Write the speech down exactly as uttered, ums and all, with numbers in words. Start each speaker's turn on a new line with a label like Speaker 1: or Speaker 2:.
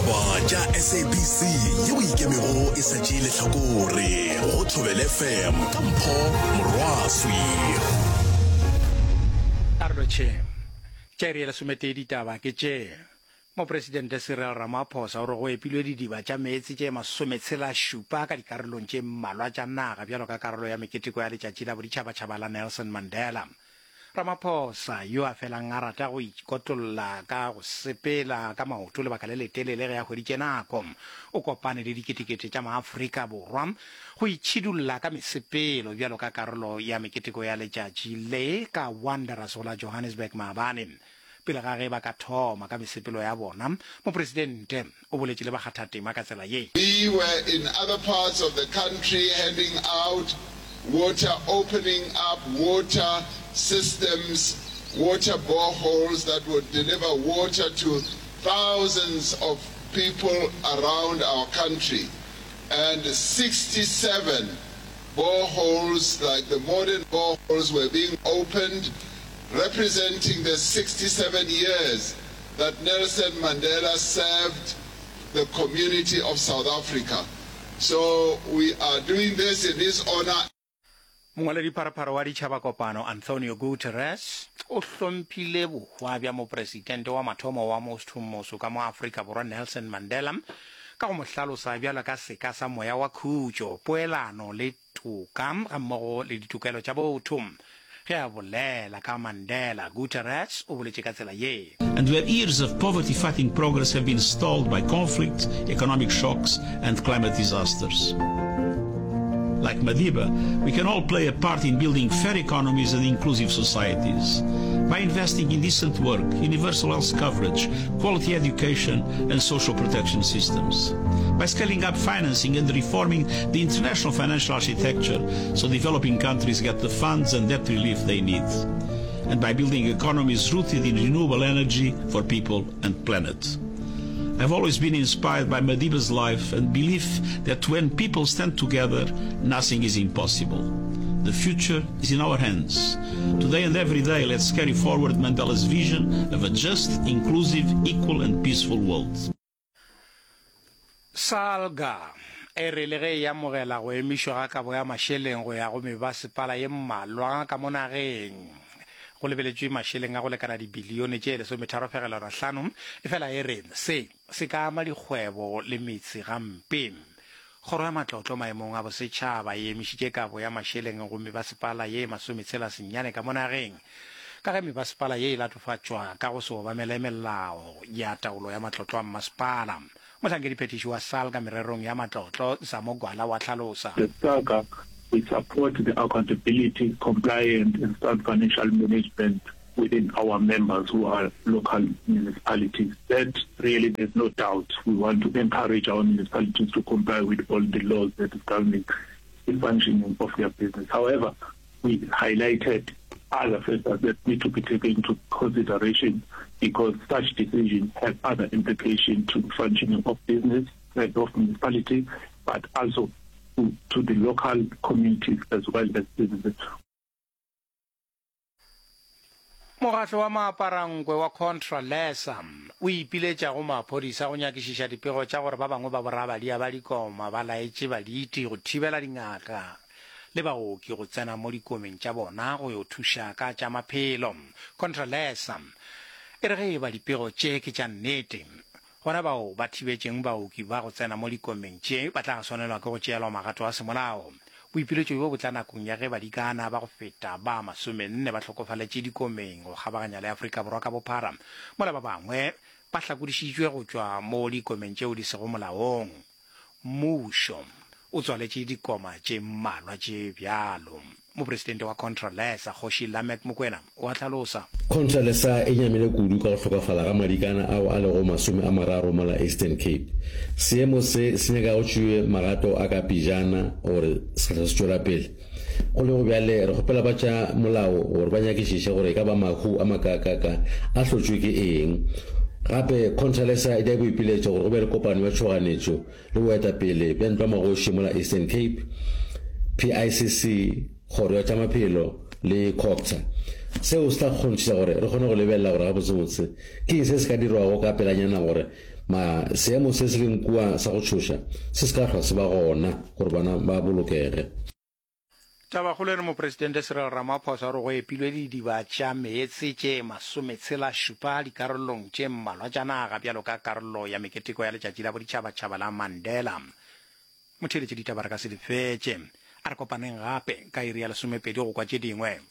Speaker 1: Ditaba tša S A B C yeo ikemego e sa tšee lehlakore go Thobela F M ka Mpho Morwaswi.
Speaker 2: Karolo tše tša iri ya lesometee ditaba ke tše: Mopresidente Cyril Ramaphosa o re go epilwe didiba tša meetse tše masometshela šupa ka dikarolong tše mmalwa tša naga bjalo ka karolo ya meketeko ya Letšatši la Boditšhabatšhaba la Nelson Mandela. Ramaphosa, yo a felang a rata go ikotlolla ka go sepela ka maoto lebaka le letelele ge a hweditše nako, o kopane le diketekete tša maAfrika Borwa go itšhidulla ka mesepelo bjalo ka karolo ya meketeko ya letšatši le ka Wanderers go la Johannesburg maabane. Pele ga ge ba ka thoma ka mesepelo ya bona, mopresidente o boletše le bakgathatema ka tsela ye.
Speaker 3: We were in other parts of the country handing out water, opening up water systems, water boreholes that would deliver water to thousands of people around our country. And sixty-seven boreholes, like the modern boreholes, were being opened, representing the sixty-seven years that Nelson Mandela served the community of South Africa. So we are doing this in his honor.
Speaker 2: Mongwaledipharephare wa Ditšhaba Kopano Antonio Guterres o hlomphile bohwa bja mopresidente wa mathomo wa mothomoso ka mo Afrika Borwa Nelson Mandela ka go mo hlalosa bjalo ka seka sa moya wa khutšo, poelano le toka gammogo le ditokelo tša botho. Ge a bolela ka Mandela, Guterres o boletše ka tsela ye.
Speaker 4: And where years of poverty-fighting progress have been stalled by conflict, economic shocks, and climate disasters. Like Madiba, we can all play a part in building fair economies and inclusive societies by investing in decent work, universal health coverage, quality education, and social protection systems. By scaling up financing and reforming the international financial architecture so developing countries get the funds and debt relief they need. And by building economies rooted in renewable energy for people and planet. I've always been inspired by Madiba's life and belief that when people stand together, nothing is impossible. The future is in our hands. Today and every day, let's carry forward Mandela's vision of a just, inclusive, equal, and peaceful world.
Speaker 2: SALGA e re le ge e amogela go emišwa ga kabo ya mašeleng go ya go mebasepala ye mmalwa ka mo nageng go lebeletšwe mašeleng a go lekana dibilione tše lesometharo fegelwana hlano, efela e re se se ka ama dikgwebo le metse gampe. Kgoro ya Matlotlo maemong a bosetšhaba e emišitše kabo ya mašeleng go mebasepala ye masometshela senyane ka mo nageng ka ge mebasepala ye e latofatšwa ka go se obamele melao ya taolo ya matlotlo a mmasepala. Mohlankediphethiši wa SALGA mererong ya matlotlo, Zamo Gwala, wa hlalosa.
Speaker 5: The SALGA, we support the accountability, compliance and sound financial management within our members who are local municipalities. That really there's no doubt. We want to encourage our municipalities to comply with all the laws that is governing the functioning of their business. However, we highlighted other factors that need to be taken into consideration because such decisions have other implications to the functioning of business and of municipality, but also to, to the local communities as well as businesses.
Speaker 2: Mokgatlo wa Maaparankwe wa Contralesa o ipiletša go maphodisa go nyakišiša dipego tša gore ba bangwe ba borabadia ba dikoma ba laetše baditi go thibela dingaka le baoki go tsena mo dikomeng tša bona go yo thuša ka tša maphelo. Contralesa e re ge e ba dipego tše ke tša nnete, gona bao ba thibetšeng baoki ba go tsena mo dikomeng tše ba tla swanelwa ke go tšeelwa magato a semolao. Boipiletšo bjo bo tla nakong ya ge badikana ba go feta ba masomenne ba hlokofaletše dikomeng go kgabaganya le Afrika Borwa ka bophara, mola ba bangwe ba hlakodišitšwe go tšwa mo dikomeng tšeo di sego molaong. Mmušo o tswaletše dikoma tše mmalwa tše bjalo. Mopresidente wa Contralesa, Kgoši Lameck Mokoena, o a hlalosa.
Speaker 6: Contralesa e nyamile kudu ka go hlokafala ga madikana ao a lego masome a mararo mola Eastern Cape. Seemo se se nyaka go tšewe magato a ka pejana gore se se tšwela pele. Go lego bjale, re kgopela ba tša molao gore ba nyakišiše gore e ka ba mahu a makaakaka a hlotšwe ke eng. Gape, Contralesa e dira boipiletšo gore go be le kopano ya tšhoganetšo le boetapele bja Ntlwamagoši mola Eastern Cape, P I C C, Kgoro ya tša Maphelo le COGTA. Seo se tla kgonthiša gore re kgone go lebelela gore gabotsebotse ke eng se se ka dirwago ka pelanyana gore Ma seemo se se leng kua sa go tšhoša se se ka hlwa se ba gona gore bana ba bolokege.
Speaker 2: Tabakgolo e re Mopresidente Cyril Ramaphosa o re go epilwe didiba tša meetse tše masometshela šupa dikarolong tše mmalwa tša naga bjalo ka karolo ya meketeko ya Letšatši la Boditšhabatšhaba la Mandela. Motheeletši ditaba re ka se di fetše. A re kopaneng gape ka iri ya lesomepedi go kwa tše dingwe.